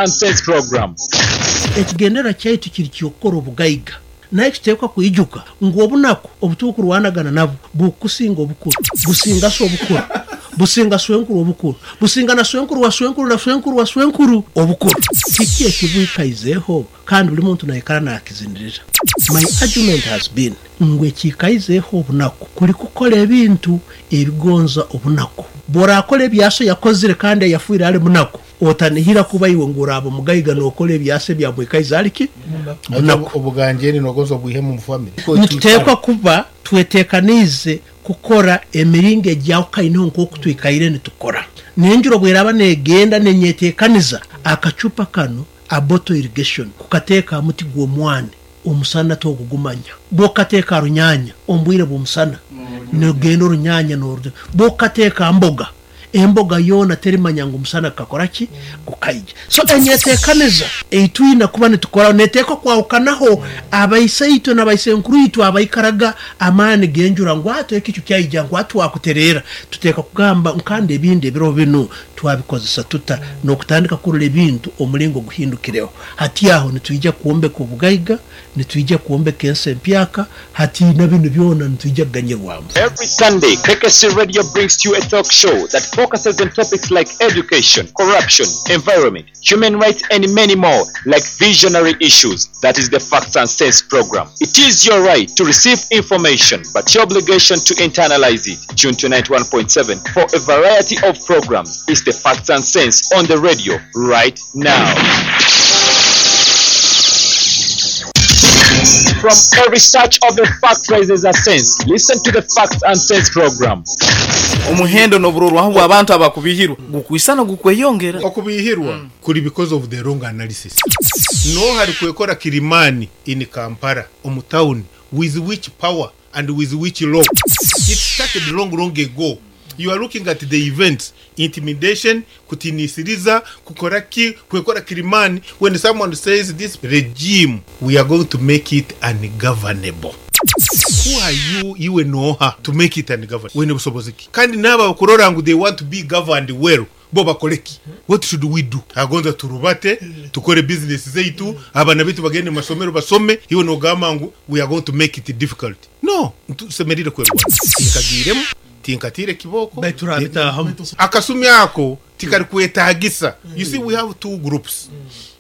And Sense program. Ekigendererwa kyaitu kiri ky'okukora obugaiga. Naye tuteekwa kwijuka ngu obunaku obutukurwanagana nabwo bukusinga obukuru, businga so obukuru, businga swenkuru obukuru, businga na swenkuru wa swenkuru na swenkuru wa swenkuru obukuru. Kiki ekibwikaizeho kandi buli muntu naikara nakizinirira? My argument has been ngu ekiikaizeho obunaku kuli kukora ebintu ebigonza obunaku. Bw'orakora ebyaso yakozire kandi ayafiire ali munaku, otanihira kuba iwe ngu oraaba mugaiga n'okora ebyasa ebyamwikaize ali ki? Munaku. Obuganjeni nogonza obwihemu omu family. Nituteekwa kuba twetekaniize kukora emiringo egyahukaineho nk'oku twikaire nitukora. N'enjura obweraaba negenda nenyetekaniza, akacupa kanu a bottle irrigation kukateeka ha muti gw'omwani, omusana togugumanya. Bw'okukateeka ha runyaanya omu bwire bw'omusana, nogenda orunyanya n'oru, bw'okukateeka ha mboga, emboga yoona terimanya ngu omusana gukakora ki? Gukaija. So enyetekaniza ei twina kuba nitukoraho neteekwa kwahukanaho abaisaitwe na baisenkuru itwe abaikaraga amaani g'enjura ngu ati ekicu kyaija ngu ati twakutereera. Tuteekwa kugamba kandi ebindi ebiro binu twabikozesa tuta n'okutandika kurora ebintu omulingo guhindukireho. Hati aho nitwija kwombeka obugaiga, nitwija kwombeka ensi empyaka, hati na binu byona nitwija kuganyirwamu. Every Sunday, KKC Radio brings to you a talk show that focuses on topics like education, corruption, environment, human rights, and many more, like visionary issues. That is the Facts and Sense program. It is your right to receive information, but your obligation to internalize it. Tune to 91.7 for a variety of programs. It's the Facts and Sense on the radio right now. From every search of a fact rises a sense. Listen to the Facts and Sense program. Omuhendo n'oburorwaho bw'abantu abakubihirwa gukwisana gukweyongera. Okubihirwa kuri because of the wrong analysis. No hari kwekora Kilimani in Kampala omu town, with which power and with which law? It started long, long ago. You are looking at the events, intimidation, kutinisiriza, kukora ki, kwekora Kilimani. When someone says this regime, we are going to make it ungovernable. Who are you, iwe noha, to make it ungovernable? Wine busobozi ki? Kandi n'abo abakurora ngu they want to be governed well, bo bakore ki? What should we do? Agonza turubate, tukore business zaitu, abaana baitu bagende mu masomero basome, iwe nogamba ngu we are going to make it difficult. No, tusemerire kwerwana. Tinkagiiremu, tinkatiire kibooko. Baitu turabitaahamu. Akasumi ako tikarikwetagisa. You see, we have two groups.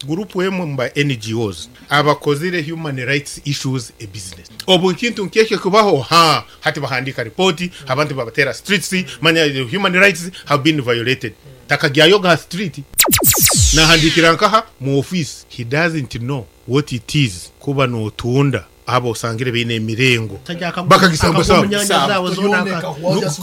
Group emwe mu ba NGOs abakozire human rights issues a business. Obu ekintu nk'ekyo kubaho, ha, hati bahandiika report, abantu babateera streets, manya human rights have been violated. Takagyayoga ha street. Nahandiikira nkaha mu office. He doesn't know what it is kuba notunda abo osangire baine emirengo bakagisambasamba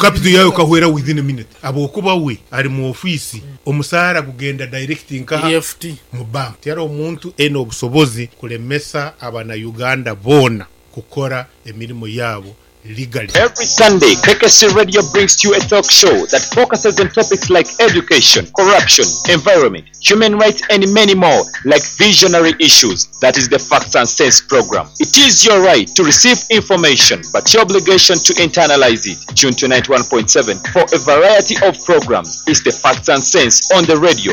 capital yawe kahwera within a minute, habwokuba we ari mu ofiisi omusaara gugenda direct nkaha EFT. Mu bank. Tihariho omuntu aine obusobozi kulemesa abana Uganda boona kukora emirimo yaabo legally. Every Sunday, KKC Radio brings to you a talk show that focuses on topics like education, corruption, environment, human rights, and many more, like visionary issues. That is the Facts and Sense program. It is your right to receive information, but your obligation to internalize it. Tune to 91.7 for a variety of programs. It's the Facts and Sense on the radio.